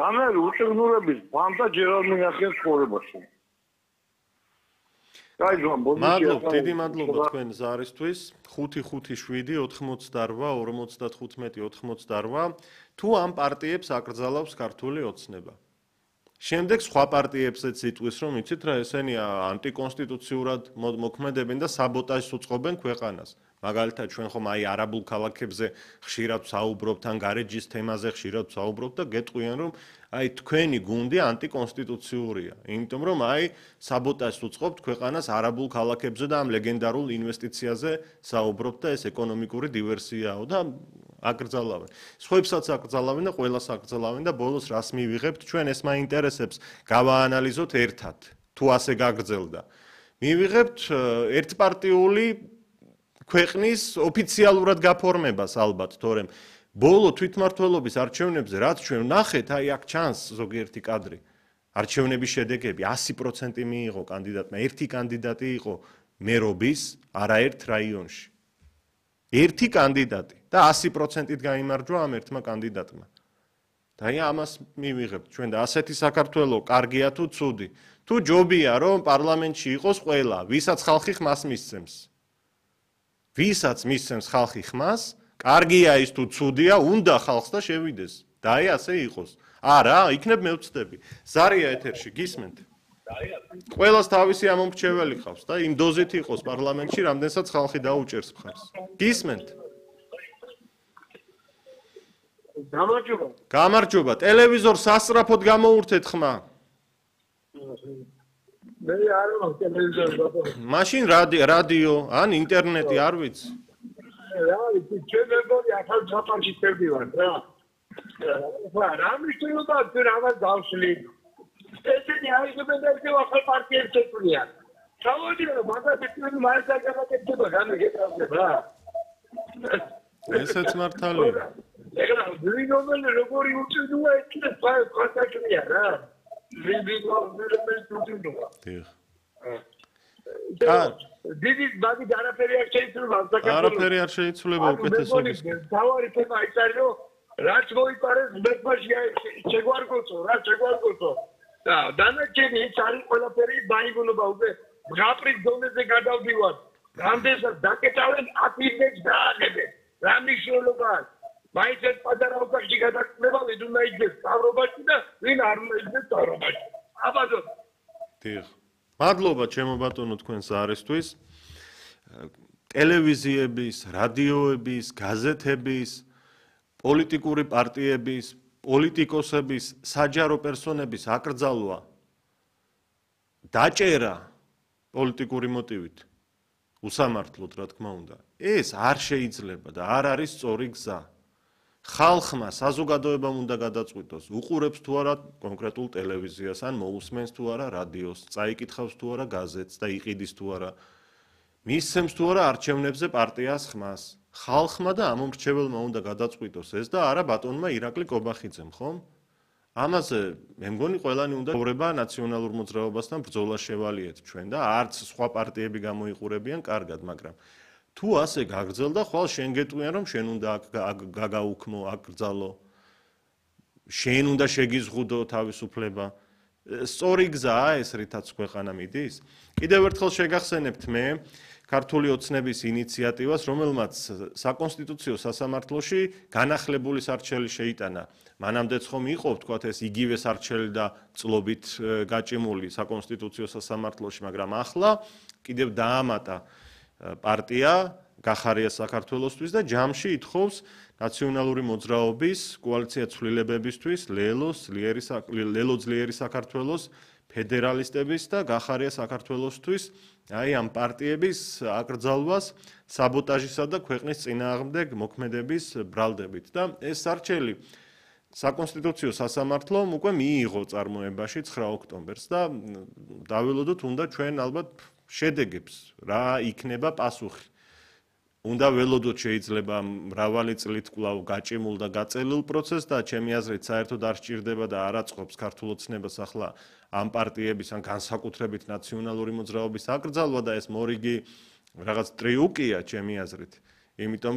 ამერ უწევნურების ფანტა ჯერ არ მიახერხეს ცხოვრებაში. მადლობ, დიდი მადლობა თქვენ ზარისთვის. 5-5-7-98-55-98. თუ ამ პარტიებს აკრძალავს ქართული ოცნება. შემდეგ სხვა პარტიებსაც იტყვის, რომ იცით რა, ესენი ანტიკონსტიტუციურად მოქმედებენ და საბოტაჟს უწყობენ ქვეყანას. მაგალითად, ჩვენ ხომ აი არაბულ ქალაქებზე ხშირად ვსაუბრობთ, ან გარეჯის თემაზე ხშირად ვსაუბრობთ და გეტყვიან, რომ აი თქვენი გუნდი ანტიკონსტიტუციურია. იმიტომ რომ აი საბოტაჟს უწყობთ ქვეყანას არაბულ ქალაქებზე და ამ ლეგენდარულ ინვესტიციაზე საუბრობთ და ეს ეკონომიკური დივერსიაო და აკრძალავენ. სხვებსაც აკრძალავენ და ყველას აკრძალავენ და ბოლოს რას მივიღებთ? ჩვენ ეს მაინტერესებს გავაანალიზოთ ერთად. თუ ასე გაგრძელდა. მივიღებთ ერთპარტიული ქვეყნის ოფიციალურად გაფორმებას ალბათ, თორემ ბოლო თვითმმართველობის არჩევნებზე რაც ჩვენ ვნახეთ, აი აქ ჩანს ზოგიერთი კადრი. არჩევნების შედეგები 100% მიიღო კანდიდატმა, ერთი კანდიდატი იყო მერობის არაერთ რაიონში. ერთი კანდიდატი და 100%-ით გაიმარჯვა ამ ერთმა კანდიდატმა. და აი ამას მივიღებთ ჩვენ და ასეთი საქართველო კარგია თუ ცუდი? თუ ჯობია რომ პარლამენტში იყოს ყველა, ვისაც ხალხი ხმას მისცემს. ვისაც მისცემს ხალხი ხმას, კარგია ის თუ ცუდია, უნდა ხალხს და შევიდეს. და აი ასე იყოს. არა, იქნებ მე ვწდები. ზარია ეთერში, გისმენთ? ყველას თავისი ამომრჩეველი ყავს და იმ დოზით იყოს პარლამენტში, რამდენსაც ხალხი დაუჭერს მხარს. გისმენთ? გამარჯობა. გამარჯობა. ტელევიზორს სასწრაფოდ გამოურთეთ ხმა. მე არ ვარ ტელევიზორს ბატონო. მაშინ რადიო, ან ინტერნეტი არ ვიცი. რა ვიცი, ჩვენ მეგონი ახალ საფარში წერდივარ რა. რა მიშტილობა თუ რაღაც დავშლი. ესენი აიღებენ და ისევ ახალ პარტიებს ეწვიან. სამოდიო მაგას თქვენ მაინც არ გაკეთდება გამიგეთავთ რა. ესეც მართალია. ეგრე ვინომელი როგორი უწინოა ეს ფასაკია რა. დიდი ბაგი არაფერი არ შეიცვლება საქართველოს. არაფერი არ შეიცვლება უკეთესობის. თავარი თემა ის არის რომ რაც მოიპარეს მეთმაში შეგვარგოცო რა შეგვარგოცო. და დანარჩენი ის არის ყველაფერი ბაიგონობა უკვე მღაპრის დონეზე გადავდივართ. რამდენსაც დაკეტავენ აფირმებს დააღებენ. რა მნიშვნელობა აქვს? მაინც ეს პატარა ოთახში გადაწყდება ვინ უნდა იდგეს სწავლობაში და ვინ არ უნდა იდგეს სწავლობაში. აბადო. დიახ. მადლობა ჩემო ბატონო თქვენ ზარისთვის. ტელევიზიების, რადიოების, გაზეთების, პოლიტიკური პარტიების, პოლიტიკოსების, საჯარო პერსონების აკრძალვა დაჭერა პოლიტიკური მოტივით უსამართლოდ რა თქმა უნდა. ეს არ შეიძლება და არ არის სწორი გზა. ხალხმა საზოგადოებამ უნდა გადაწყვიტოს, უყურებს თუ არა კონკრეტულ ტელევიზიას, ან მოусმენს თუ არა რადიოს, წაიკითხავს თუ არა გაზეთს და იყიდის თუ არა, მისცემს თუ არა არჩევნებზე პარტიას ხმას. ხალხმა და ამომრჩეველმა უნდა გადაწყვიტოს ეს და არა ბატონმა ირაკლი კობახიძემ, ხომ? ამაზე მე მგონი ყველანი უნდა ცხოვრება ნაციონალურ მოძრაობასთან ბრძოლა შევალიეთ ჩვენ და არც სხვა პარტიები გამოიყურებიან კარგად, მაგრამ თუ ასე გაგრძელდა, ხვალ შენ გეტყვიან რომ შენ უნდა გაგაუქმო, აკრძალო. შენ უნდა შეგიზღუდო თავისუფლება. სწორი გზაა ეს, რითაც ქვეყანა მიდის. კიდევ ერთხელ შეგახსენებთ მე ქართული ოცნების ინიციატივას, რომელმაც საკონსტიტუციო სასამართლოში განახლებული სარჩელი შეიტანა. მანამდეც ხომ იყო, ვთქვათ, ეს იგივე სარჩელი და წლობით გაჭიმული საკონსტიტუციო სასამართლოში, მაგრამ ახლა კიდევ დაამატა პარტია გახარია საქართველოსთვის და ჯამში ითხოვს ნაციონალური მოძრაობის კოალიცია ცვლილებებისთვის ლელო ძლიერი საქართველოს ფედერალისტების და გახარია საქართველოსთვის აი ამ პარტიების აკრძალვას საბოტაჟისა და ქვეყნის წინააღმდეგ მოქმედების ბრალდებით და ეს სარჩელი საკონსტიტუციო სასამართლომ უკვე მიიღო წარმოებაში 9 ოქტომბერს და დაველოდოთ უნდა ჩვენ ალბათ შედეგებს რა იქნება პასუხი. უნდა ველოდოთ შეიძლება მრავალი წლით კვლავ გაჭიმულ და გაწელილ პროცესს და ჩემი აზრით საერთოდ არ სჭირდება და არ აწყობს ქართულ ოცნებას ახლა ამ პარტიების ან განსაკუთრებით ნაციონალური მოძრაობის აკრძალვა და ეს მორიგი რაღაც ტრიუკია ჩემი აზრით. იმიტომ